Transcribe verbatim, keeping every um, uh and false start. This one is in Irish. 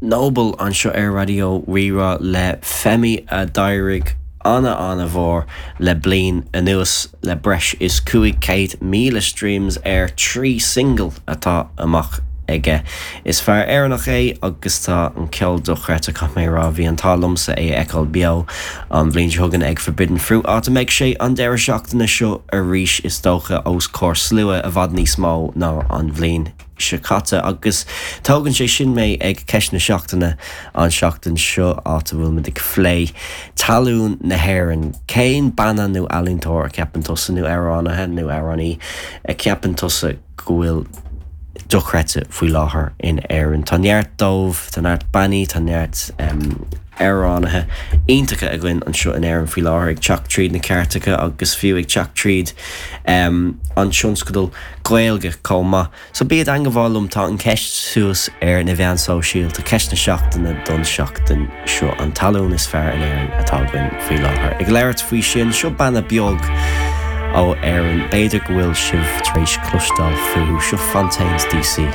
Noble anseo ar Raidió Rí-Rá le Femi a d'éirigh ana ana-mhór le bliain anuas le breis is cúig céad míle streams ar trí single atá amach aige. Is fear Éireannach é agus tá an ceol dochreidte caithfidh mé rá bhí an t-ádh liomsa é a fheiceáil beo an bhliain seo chugainn ag Forbidden Fruit áit a mbeidh sé an deireadh seachtaine seo arís is dócha os comhair slua i bhfad níos mó ná an bhliain seo caite agus tógann sé sin mé ag ceist na seachtaine an seachtain seo áit a bhfuil muid ag plé tallann na hÉireann cén banna nó ealaíontóir a cheapann tusa nó amhránaithe nó amhránaí a cheapann tusa go bhfuil dochreidte faoi láthair in Éirinn. Tá neart dóibh tá neart bannaí tá neart um, amhránaithe iontacha againn anseo in Éirinn faoi láthair ag teacht tríd na cairteacha agus fiú ag teacht tríd um, an tionscadal Gaeilge chomh maith. So bí i dteagmháil liom tá an ceist suas ar na meáin shóisialta ceist na seachtaine don seachtain seo an tallann is fearr in Éirinn atá againn faoi láthair. Ag labhairt faoi sin seo banna beag ó Éirinn b'fhéidir go bhfuil sibh tar éis cloisteáil fúthu seo Fontaines DC.